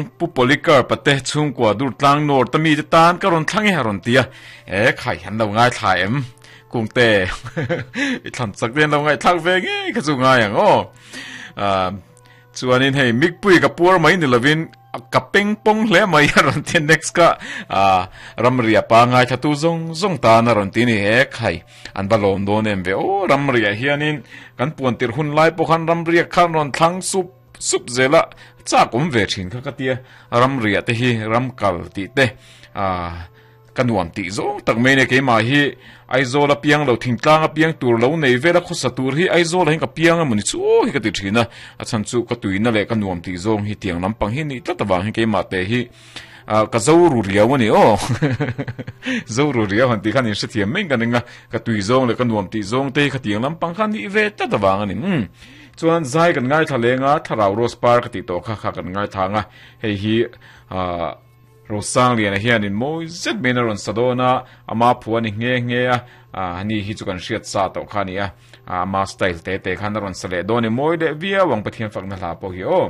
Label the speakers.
Speaker 1: Pu Polycarp a te chhungkua Durtlang North a mite tan ka rawn thlang e a rawn ti a, e khai an lo ngaithla em? Kungte i thlan chak te an lo ngaihthlak ve ngei kha chu ngai ang aw. Chuanin hei Mikpui ka puar mai ni lovin ka peng pawng hle mai a rawn ti a, next ka ramria pa ngaithla tu zawng zawng tan a rawn ti ni e khai an va lawm dawn em ve aw ramriah hianin kan puan tirh hun lai pawh khan ramria khan rawn thlang sup sup zela chak awm ve thin kha ka tia ramriah te hi ram kal tih te ah Ka nuam tih zawng tak mai nia keimah hi Aizawl a piang lo thingtlang a piang tur lo nei vel a khawsa tur hi Aizawl ah hian ka piang emaw ni chu hi ka ti thin a, a chhan chu ka tuina leh ka nuam tih zawng hi tiang lampang hi nih tlat avang hi keimah te hi ah ka zo ru riau a ni aw zo ru riau han tih khan in hrethiam mai ka ring a, ka tui zawng leh ka nuam tih zawng te hi kha tiang lampang kha nih ve tlat avang a ni umm chuan zai kan ngaithla leng a thlarau rose par ka tih tawh kha kha kan ngaithla ang a hei hi ah. Rosangliana hianin mawi zet maiin a rawn sa dawn a, ama phu a ni nghe nghe a, ani hi chu kan hriat sa tawh kha a ni a, ama style te te khan a rawn sa leh dawn i mawi leh viau ang Pathian fakna hla pawh hi aw.